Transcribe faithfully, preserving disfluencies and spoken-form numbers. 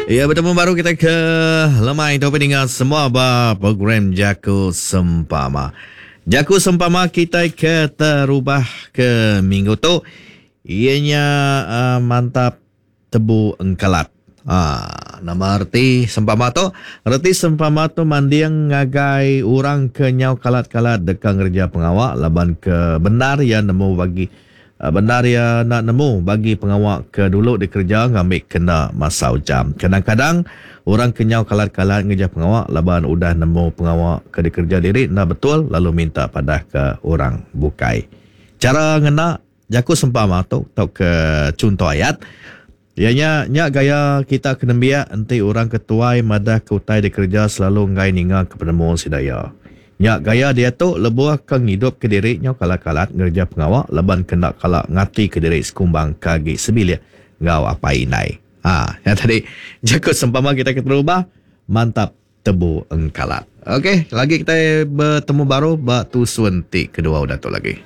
Ya, betemu baru kita ke lemai tu peninga semua ba program Jaku Sempama. Jaku Sempama kita ke terubah ke minggu tu ianya uh, mantap tebu engkalat. Ha, nama reti sempama tu? Reti sempama tu manding ngagai orang ke nyau kalat-kalat deka ngereja pengawa laban ke bendar iya nemu bagi bendar iya enda nemu bagi pengawa ke dulu dikereja ngambi kena masau jam. Kadang-kadang orang ke nyau kalat-kalat ngereja pengawa laban udah nemu pengawa ke dikereja diri enda betul lalu minta padah ke orang bukai. Chara ngena jaku sempama tu tauka chunto ayat iya nya nya gaya kita ke nembiak enti orang ke tuai madah ke utai dikereja selalu enggai ninga ke penemu sida iya. Nya gaya diatu lebuh ke ngidupka diri nyau kalat-kalat ngereja pengawa laban ke enda kala ngatika diri sekumbang ke agi sebilik enggau apai indai. Ha, nya tadi jaku sempama kita keterubah mantap tebu engkalat. Okey, lagi kita betemu baru ba tusun ti kedua udah tu lagi.